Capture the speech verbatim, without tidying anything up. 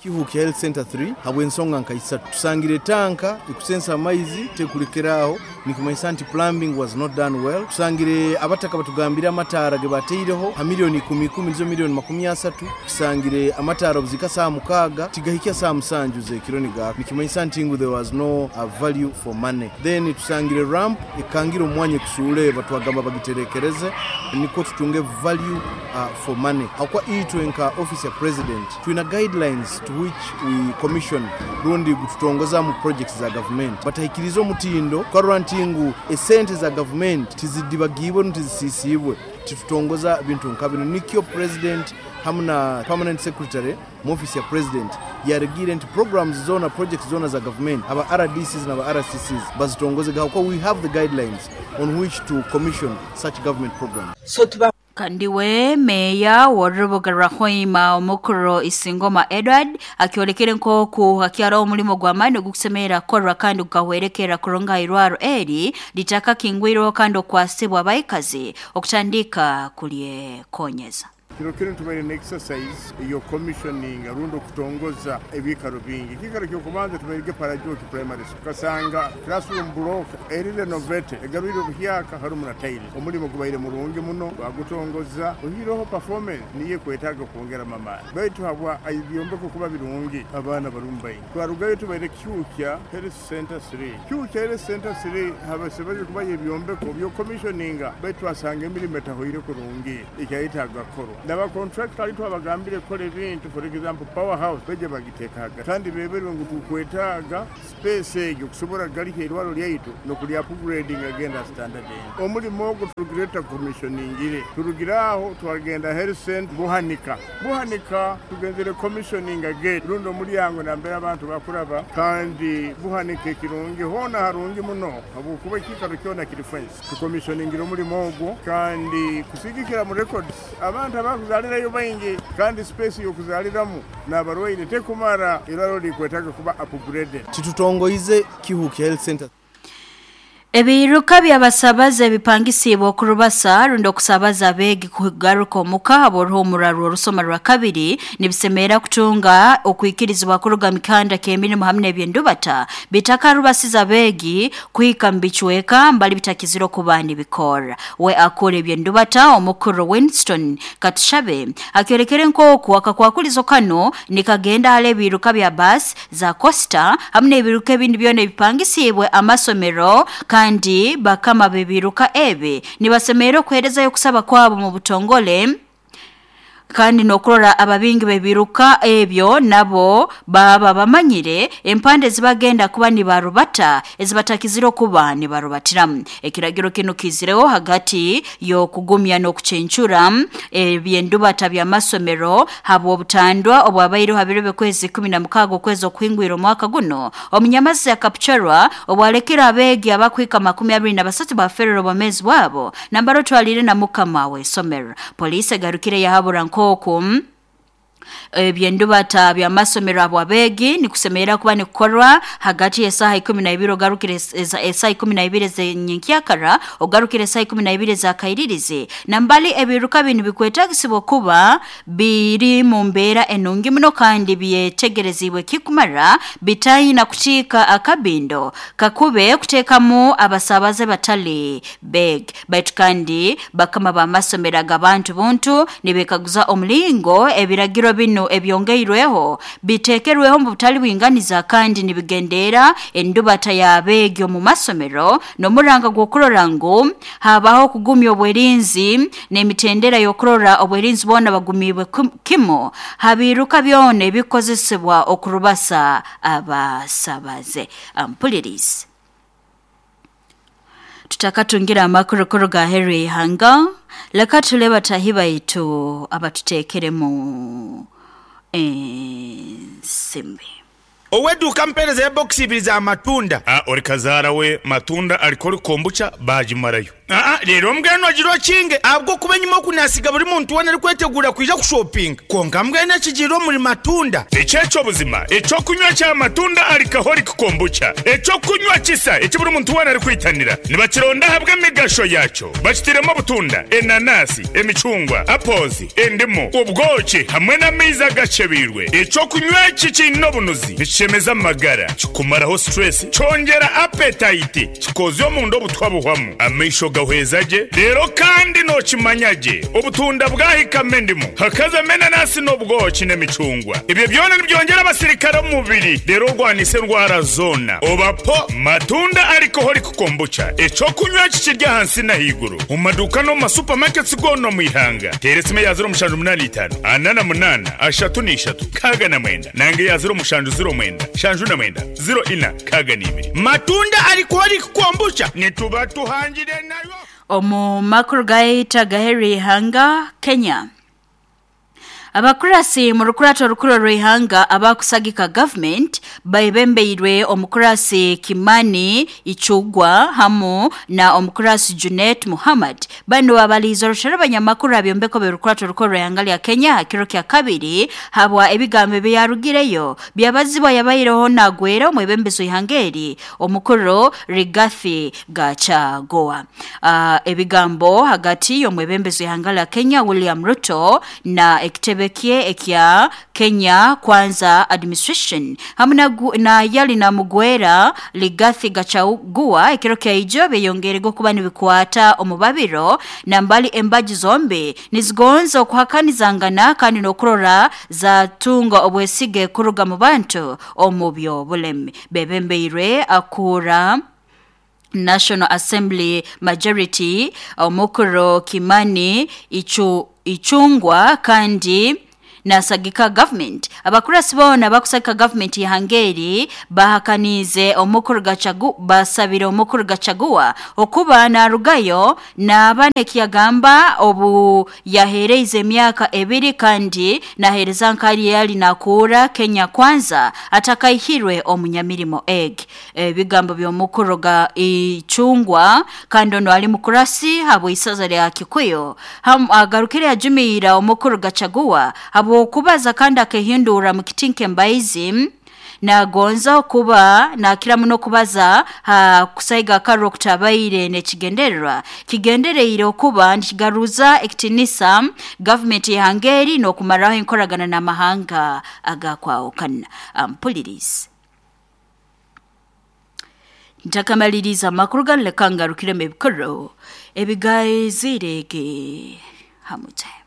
Kihuukya Health Center three habw'ensonga nka isatu. Tusangire tanka ekusensa amaizi tekulekeraho, nikimanyisa nti plumbing was not done well. Tusangire abataka batugambire amataara ge bateireho ha milioni ikumi ikumi nizo milioni makumi asatu. Tusangire amataara obuzika saa mukaaga tigahikya saa musanju z'ekiro nigaaka, nikimanyisa nti ngu there was no uh, value for money. Then tusangire ramp ekangire omwanya ekusuule, batwagamba bagiterekereze nikwo tutunge value uh, for money. Akwa itwe nka office ya president twina guidelines to which we commission rundi gututongoza mu projects za government, batahikiriza omutindo twarora nti ngu esente za government tizidibagibwe ntizisisibwe, titutongoza bintu nka bino. Nikyo president hamu na permanent secretary mu office ya president yaregire nti programs zona, projects zona za government, aba R D Cs na aba R C Cs bazitongoze gahoko. We have the guidelines on which to commission such government programs. So tuba Kandiwe meya w'orubuga rwa Hoima omukuru Isingoma Edward akiolekere nkoku hakyara omulimo gw'amaani ogukusemera korwa kandi gukahwerekera kuronga irwaro eri litaka kingwiro kandi okwasibwa abaikazi okutandika kulyekonyeza. Kiro kiro tubaire na exercise iyo commissioning arundo kutongoza ebikaro bingi. Kikaro kyo kubanza tubaire Parajoki Primary School. Kasanga classroom block eri renovate egarwire obuhyaka harumu na tiles. Omulimo gubaire murungi muno bagutongoza ohiroho performance niye kwetaga kwongera mamani. Baitu habwa ibyombeko kuba birungi abana barumbaye. Twarugayo tubaire Kyukya Health Center three. Kyukya Health Center three habasebaje kuba ibyombeko byo commissioning baitu asanga emirimo etahoire kurungi ikyayitaga koro. Naba contractor alitu abagambire kole bintu, for example powerhouse beje bagitekaga kandi beberwe ngu tukwetaga space egyo kusobora galihe irwaro lyaitu no kuli upgrading agenda standard. Omulimo ogwo turugireta commissioning turugiraho twagenda health center Buhanika. Buhanika tugenzere commissioning again rundo mulyango nambera abantu bakuraba kandi Buhanika ekirungi hona harungi muno abukuba kikaro kyona kiri fence tucommissioning omulimo ogwo kandi kusigikira mu records abantu abakuzalirayo baingi kandi space yokuzaliramu n'abarwaire tekumara iraro likwetaga kuba upgraded. Titutongoize Kihuukya Health Center. Ebiruka by'abasabaze bipangisibwa okurubasa rundi okusabaza abeegi kugaruka omuka ab'oruhumura rw'orusoma rwa kabiri nibisemera kutunga okwikirizibwa kuruga mikanda k'emirimu hamwe n'ebyendubata bitakarubasiza abeegi kuhika mu bicweka mbali bitakizire okuba nibikora. We akora ebyendubata omukuru Winston Katushabe akyorekere nk'oku akakwakulizo kano nikagenda hali ebiruka bya basi za Costa hamwe n'ebiruka ebindi byona ebipangisibwe amasomero kandi bakama bebiruka ebe nibasemera okuherezayo kusaba kwabo mu butongole kandi nokurora ababingi bebiruka ebyo nabo baba bamanyire empande zibagenda kuba nibarubata ezibatakizire kuba nibarubatiramu. Ekiragiro kino kizireho hagati yo kugumya n'okucencura ebyendubata bya masomero habwo obutandwa obwabaire habirebe kwezi kumi na mukaaga okwezi okuhingwira omwaka guno. Omunyamazi akapcharwa obwalekera abeegi abakwika makumi abiri na basatu baferera obwamezi bwabo nambaro twalire na mukama w'esomero. Polisi egarukire yahabura nkoku ebyendubata bya masomero abo abegi nikusemera kuba nikukorwa hagati y'esaha ikumi na ibiri ogarukire esaha ikumi na ibiri z'enyenkyakara ogarukire esaha ikumi na ibiri za kairirizi nambali ebiruka binu bikwetagisibwa kuba biri mu mbeera enungi muno kandi byetegerezibwe kikumara bitayina kutika akabindo kakube kuteekamu abasabaze batali beg. Baitu kandi bakama b'amasomero ag'abantu buntu nibekaguza omulingo ebiragiro bino ebyongeirweho bitekerweho mu butali bwinganiza kandi nibigendera endubata y'abeegi omu masomero n'omuranga gw'okurora ngu habaho kugumya obwerinzi n'emitendera y'okurora obwerinzi boona bagumibwe kimu habiruka byona ebikozesebwa okurubasa abasabaze. Ampulirizi tutakatungira amakuru kuruga Henry Hanga leka tuleba tahiba itu abatutekeremu ensimbi. Oweduka mpereza ya box ibiri za matunda. Ah, ori kazara we matunda alikori kombucha bajimarayo. Aa rero mbwenu agira okinge ahabwo kuba enyuma okunasiga buri muntu wena arikwetegura kwija kushopinga konka mbwenu ekigiire omuri matunda. Ekyekyo buzima ekyokunywa kya matunda alcoholic kombucha ekyokunywa kisa eki buri muntu wena arikwitanira nibakironda ahabwa emigasho yakyo bakitiremu obutunda, enanasi, emicungwa, apples, endimu, obwoki hamwe n'amaizi agacebiirwe. Ekyokunywa eki kiine obunuzi nikishemeza amagara, kikumaraho stress, kyongera appetite, kikozya omunda obutwa buhwamu, amaisho gahweza gye. Rero kandi nokimanya gye obutunda bwahikamo endimu hakazamo enanasi n'obwoki n'emicungwa, ebyo byona nibyongera abasirikare omu mubiri rero orwanisa endwara zoona. Obapo matunda alcoholic kombucha ekyokunywa eki kiri ahansi n'ahaiguru omu maduuka n'omu masupamaketi goona omu ihanga. Teera esimu eya ziro mushanju munaana itaano ana na munaana ashatu n'ishatu nkaaga na mwenda nange eya ziro mushanju ziro mwenda shanju na mwenda ziro ina nkaaga n'ibiri. Matunda alcoholic kombucha nituba tuhangire nayo. Omu makuru gaita gaheri ihanga Kenya. Abakurasi mu rukurato rukuru rw'ihanga abakusagika government baibembeirwe omukurasi Kimani Ichugwa hamu na omukurasi Junet Muhammad. Bano abalizo rushara abanyamakuru abyombeko b'urukurato rukuru rw'ihanga lya Kenya kiro kya kabiri habwa ebigambo byarugireyo byabazibwa yabayireho nagwera omwebembezo ihangeri omukuru Rigathi Gachagua. Uh, ebigambo hagati y'omwebembezo ihanga lya Kenya William Ruto na ekitebe kie ekya Kenya Kwanza Administration hamwe na, na yali na mugwera Rigathi Gachagua ekiro kya ijo beyongerego kuba nibikwata omubabiro na mbali embaji zombi nizigonza okuhakanizangana kandi nokurora za tunga obwesige kuruga mu bantu omubyo bulemi bebembeirwe akura National Assembly Majority omukuru Kimani Ichu Ichungwa kandi nasagika government. Abakurasi bona bakusagika government ya Hungary bahakanize omukuru Gachagua basabira omukuru Gachagua okuba narugayo na bane kiyagamba obu yahereize emyaka ebiri kandi nahereza nkali yali nakura Kenya Kwanza atakaihirwe omunyamirimo egg. Ebigambo by'omukuru ga Ichungwa kandi ono ali mukurasi habo isaza lya Kikuyu agarukire yajumira omukuru Gachagua habo okubaza kandi akehindura mu kitinke mbaizi nagonza okuba nakira muno kubaza ha kusaiga karo kutabaire nekigendererwa kigendereire okuba nkigaruza ekitinisa government ya Hungary no kumaraho enkoragana n'amahanga agakwaokana. Ampulirize ntakamaliriza amakuru ganlekangarukire mu bikoro ebigaizirege hamute.